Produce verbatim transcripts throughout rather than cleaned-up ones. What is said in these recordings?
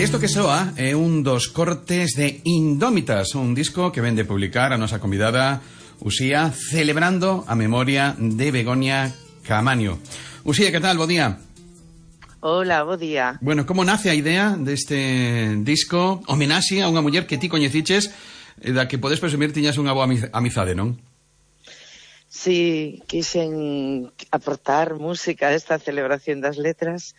Isto que soa é un dos cortes de Indómitas, un disco que vende publicar a nosa convidada Uxía, celebrando a memoria de Begoña Caamaño. Uxía, que tal? Bo día. Hola, bo día. Bueno, como nace a idea deste disco, homenaxe a unha muller que ti coñeciches, da que podes presumir tiñas unha boa amizade, non? Sí, quixen aportar música a esta celebración das letras.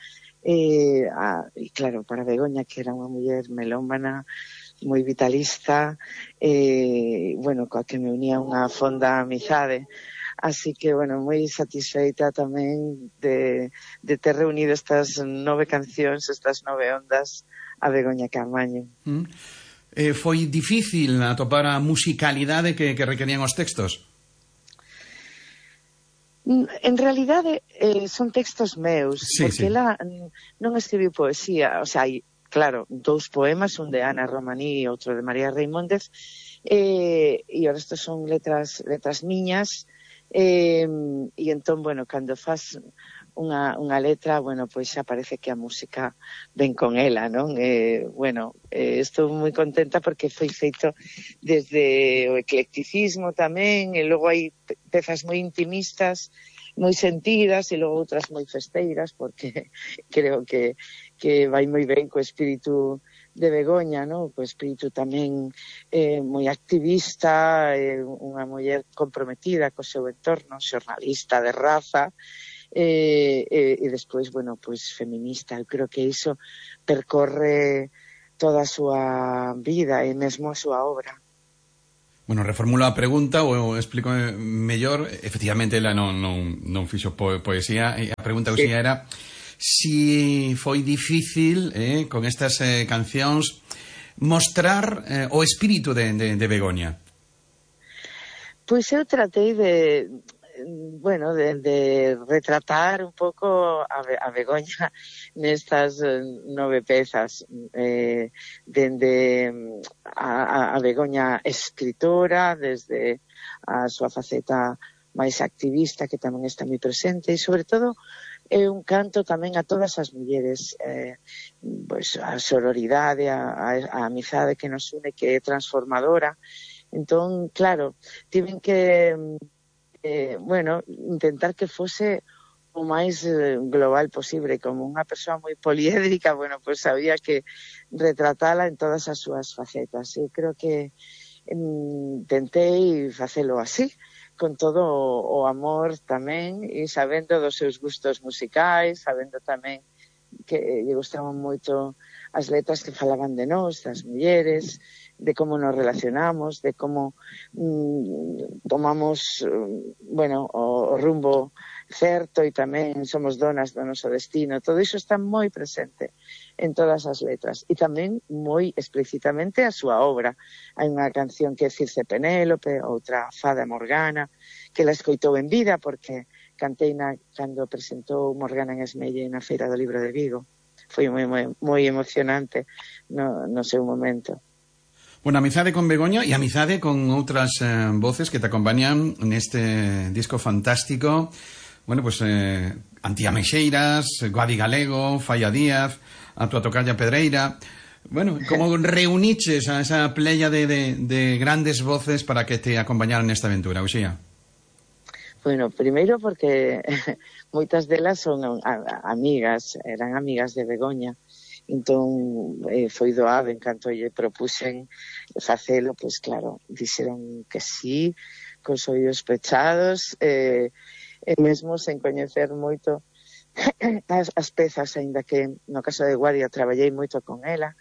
E, a, e claro, para Begoña, que era unha muller melómana, moi vitalista, e, bueno, coa que me unía unha fonda amizade. Así que, bueno, moi satisfeita tamén de, de ter reunido estas nove cancións, estas nove ondas a Begoña Caamaño. Mm. Eh, foi difícil atopar a musicalidade que, que requerían os textos? En realidade eh, son textos meus, sí, porque sí. ela non escribiu poesía, o sea, hai, claro, dous poemas, un de Ana Romaní e outro de María Reimóndez, eh, e o resto son letras letras miñas, eh, e entón, bueno, cando faz unha, unha letra, bueno, pois xa parece que a música ven con ela, non? Eh, bueno, eh, estou moi contenta porque foi feito desde o eclecticismo tamén, e logo hai pezas moi intimistas, moi sentidas, e logo outras moi festeiras, porque creo que, que vai moi ben co espírito de Begoña, no? Co espírito tamén eh, moi activista, eh, unha muller comprometida co seu entorno, xornalista de raza, e, e, e despois, bueno, pois feminista. Eu creo que iso percorre toda a súa vida e mesmo a súa obra. Bueno, reformulo a pregunta ou explico mellor. Efectivamente, ela non, non, non fixo po poesía, e a pregunta que sí. Era si foi difícil eh, con estas eh, cancións mostrar eh, o espírito de, de, de Begoña. Pois eu tratei de bueno, de, de retratar un pouco a, a Begoña nestas nove pezas, eh, dende a, a Begoña escritora, desde a súa faceta máis activista, que tamén está moi presente, e sobre todo é un canto tamén a todas as mulleres, eh, pois a sororidade, a, a, a amizade que nos une, que é transformadora. Entón, claro, tiven que Eh, bueno, intentar que fose o máis eh, global posible. Como unha persoa moi poliédrica, bueno, pues había que retratala en todas as súas facetas. Eu creo que mm, tentei facelo así, con todo o, o amor tamén, e sabendo dos seus gustos musicais, sabendo tamén que lle gustaban moito as letras que falaban de nós, das mulleres, de como nos relacionamos, de como mm, tomamos, bueno, o, o rumbo certo, e tamén somos donas do noso destino. Todo iso está moi presente en todas as letras, e tamén moi explícitamente a súa obra. Hai unha canción que é Circe Penélope, outra Fada Morgana, que la escoitou en vida, porque cantei na, cando presentou Morgana en Esmelle na Feira do Libro de Vigo. Foi moi, moi, moi emocionante no, no seu momento. Bueno, amizade con Begoña e amizade con outras eh, voces que te acompañan neste disco fantástico. Bueno, pues eh, Antía Meixeiras, Guadi Galego, Falla Díaz, a tua tocalla Pedreira. Bueno, como reuniches a esa playa de, de, de grandes voces para que te acompañaran nesta aventura, Uxía? Bueno, primeiro porque moitas delas son a, a, amigas, eran amigas de Begoña. Entón, eh, foi doado, en canto lle propuxen facelo, pois claro, dixeron que sí, cos oídos pechados, eh, e mesmo sen coñecer moito as, as pezas, aínda que no caso de Guadia traballei moito con ela,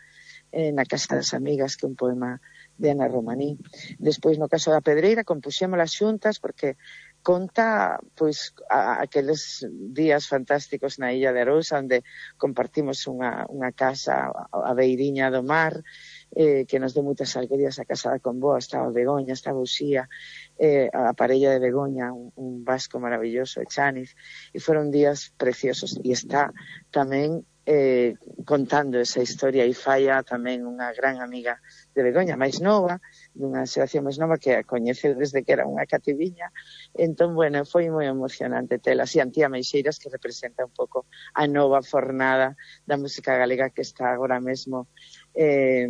eh, na Casa das Amigas, que é un poema de Ana Romaní. Despois, no caso da Pedreira, compuxémolas xuntas, porque conta, pois, a, aqueles días fantásticos na Illa de Arousa, onde compartimos unha, unha casa a beiriña do mar, eh, que nos deu moitas alegrías. A casa da Comboa, estaba Begoña, estaba Uxía, eh, a parella de Begoña, un, un vasco maravilloso, Echaniz, e foron días preciosos. E está tamén eh, contando esa historia, e falla tamén unha gran amiga de Begoña, máis nova, dunha xeración máis nova que a coñeceu desde que era unha cativiña. Entón, bueno, foi moi emocionante tela. E Antía Meixeiras, que representa un pouco a nova fornada da música galega que está agora mesmo, eh,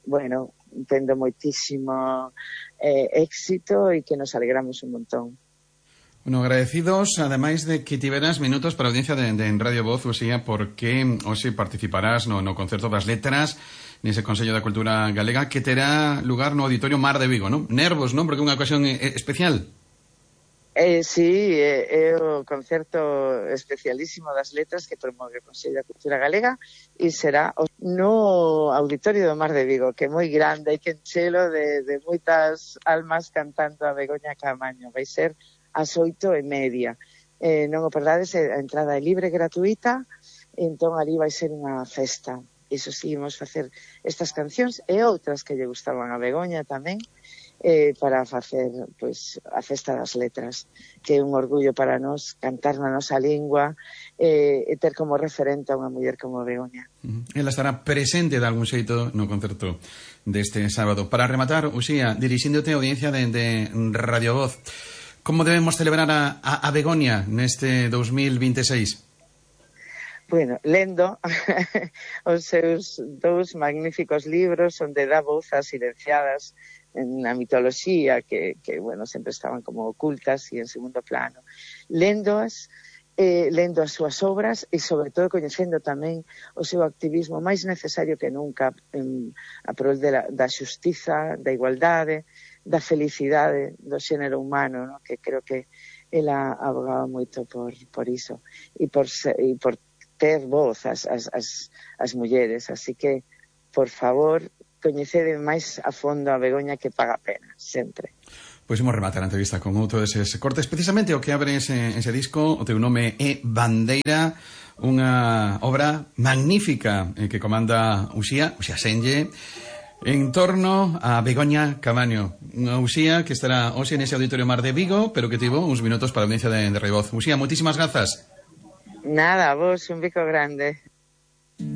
bueno, tendo moitísimo eh, éxito e que nos alegramos un montón. Bueno, agradecidos, ademais de que tiveras minutos para a audiencia de, de en Radio Voz, Uxía, porque hoxe participarás no, no Concerto das Letras, nese Consello da Cultura Galega, que terá lugar no Auditorio Mar de Vigo, non? Nervos, non? Porque é unha ocasión eh, especial. Eh, sí, é, é o concerto especialísimo das letras que promove o Consello da Cultura Galega e será no Auditorio do Mar de Vigo, que é moi grande, hai que enchelo de, de moitas almas cantando a Begoña Caamaño. Vai ser ás oito e media. Eh, non o perdades, a entrada é libre, gratuita, entón ali vai ser unha festa. Iso sí, imos facer estas cancións e outras que lle gustaban a Begoña tamén, eh, para facer pois, a festa das letras, que é un orgullo para nós cantar na nosa lingua eh, e ter como referente a unha muller como Begoña. Uh-huh. Ela estará presente de algún xeito no concerto deste sábado. Para rematar, Uxía, dirixíndote a audiencia de, de Radio Voz, como debemos celebrar a, a, a Begoña neste dos mil vinte e seis? Bueno, lendo os seus dous magníficos libros onde dá voz ás silenciadas na mitoloxía que, que bueno, sempre estaban como ocultas e en segundo plano. Lendoas, eh, lendo as súas obras e, sobre todo, coñecendo tamén o seu activismo máis necesario que nunca en, a prol de la, da xustiza, da igualdade, da felicidade do xénero humano, ¿no? Que creo que ela abogaba moito por, por iso e por, e por ter voz as, as, as, as mulleres. Así que, por favor, coñecede máis a fondo a Begoña, que paga a pena, sempre. Pois imos rematar a entrevista con outro deses cortes, precisamente o que abre ese, ese disco. O teu nome é Bandeira, unha obra magnífica eh, que comanda Uxía, Uxía Senlle, en torno a Begoña Caamaño, unha Uxía que estará hoxe nese Auditorio Mar de Vigo, pero que tivo uns minutos para a audiencia de, de Radio Voz. Uxía, moitísimas grazas. Nada, vos, un bico grande.